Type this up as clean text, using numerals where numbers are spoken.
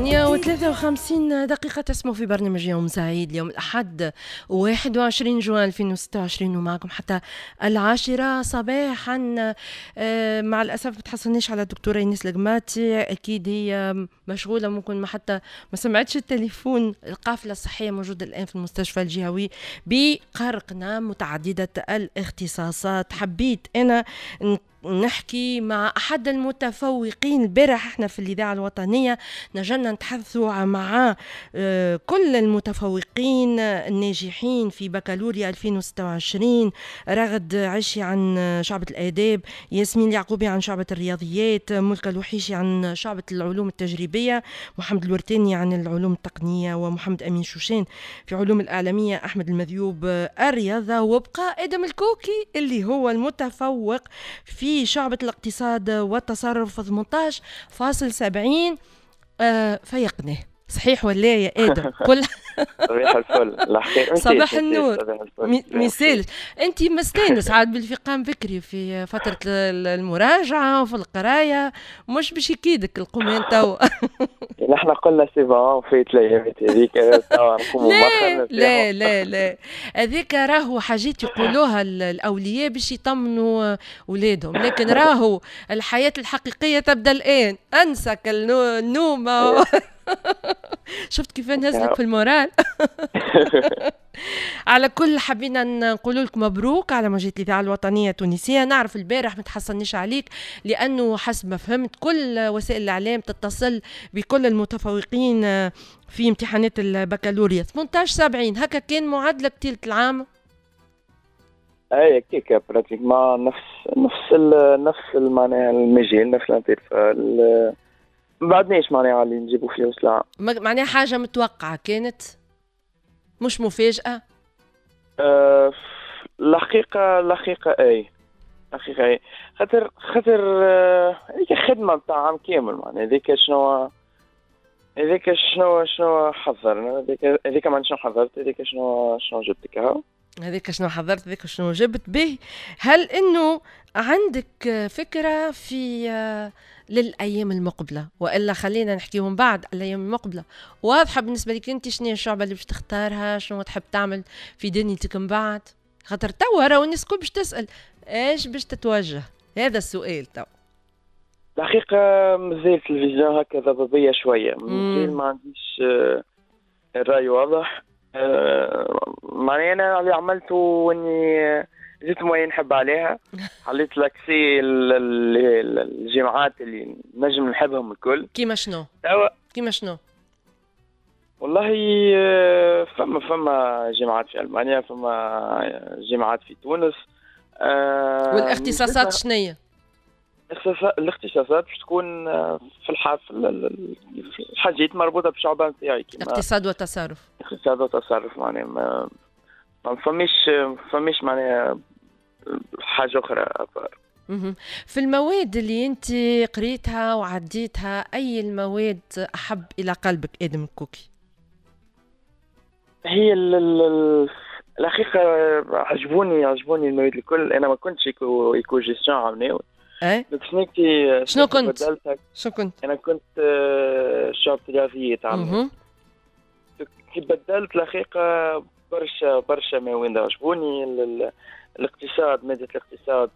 8:53 تسمعوا في برنامج يوم سعيد اليوم الأحد 21 جوان 2026 ومعكم حتى 10 صباحا. مع الأسف ما تحصلناش على الدكتورة إيناس القماطي، أكيد هي مشغولة، ممكن ما حتى ما سمعتش التليفون. القافلة الصحية موجودة الآن في المستشفى الجهوي بقرقنة متعددة الاختصاصات. حبيت أنا نحكي مع أحد المتفوقين. البارح احنا في الإذاعة الوطنية نجمنا نتحدثوا مع كل المتفوقين الناجحين في بكالوريا 2026، رغد عشي عن شعبة الآداب، ياسمين اليعقوبي عن شعبة الرياضيات، ملكة الوحيشي عن شعبة العلوم التجريبية، محمد الورتاني عن العلوم التقنية، ومحمد أمين شوشان في علوم الإعلامية، أحمد المذيوب الرياضة، وبقى آدم الكوكي اللي هو المتفوق في شعبة الاقتصاد والتصرف 18.70. فيقناه صحيح ولا يا آدم؟ كل صباح الفل. صباح النور. ميسالش انت مستانس عاد بالفقام بكري في فترة المراجعة وفي القراية، مش باش يكيدك القومان تو. نحن قلنا c'est bon فات الايامات هذيك. لا لا لا لا، هذيك راهو حاجات يقولوها الاولياء باش يطمنوا اولادهم، لكن راهو الحياة الحقيقية تبدا الان. انسك النوم. شفت كيف نهزلك في ال moral. على كل حبينا نقول لكم مبروك على موجة الإذاعة الوطنية التونسية. نعرف البارح ما تحصلنيش عليك لأنه حسب ما فهمت كل وسائل الإعلام تتصل بكل المتفوقين في امتحانات البكالوريا. 18.70 هكا كان معادلك طيلة العام؟ اي كيكا pratiquement نفس معناها المجال، نفس l'intervalle، ما بعدناش معناها اللي نجيبوا فيه وسلعة. معناها حاجة متوقعة كانت مش مفاجأة؟ الحقيقة اي الحقيقة اي خاطر هذيك خدمة نتاع عام كامل، معناها هذيك شنو حضرنا، هذيك ما شنو حضرت، هذيك شنو جبت كهو، هذيك شنو حضرت، هذيك شنو جبت به. هل انه عندك فكرة في للأيام المقبلة، وإلا خلينا نحكيهم بعد الأيام المقبلة؟ واضحة بالنسبة لك أنت شنو الشعبة اللي باش تختارها، شنو تحب تعمل في دنيتك من بعد؟ خاطر توا راهو الناس الكل باش تسأل ايش باش تتوجه، هذا السؤال تو. الحقيقة مازالت ال vision هكا ضبابية شوية، مازال ما عنديش الرأي واضح. معناها أنا اللي عملته إني جيت moyenne نحب عليها، حليت l'accès الجامعات اللي نجم نحبهم الكل. كيما شنو؟ كيما شنو؟ والله فما جامعات في ألمانيا، فما جامعات في تونس. والاختصاصات شنية؟ الاختصاصات باش تكون في الحاجات مربوطة بالشعبة نتاعي، اقتصاد وتصرف. اقتصاد وتصرف معناها ما فماش معناها حاجة أخرى. في المواد اللي أنت قريتها وعديتها، أي المواد أحب إلى قلبك آدم الكوكي؟ هي الحقيقة عجبوني المواد الكل. أنا ما كنتش éco-gestion عمناوي. أي؟ شنو كنت؟ شنو كنت؟ أنا كنت شعبة رياضيات عمناوي. كي بدلت الحقيقة برشا مواد عجبوني. الاقتصاد، مادة الاقتصاد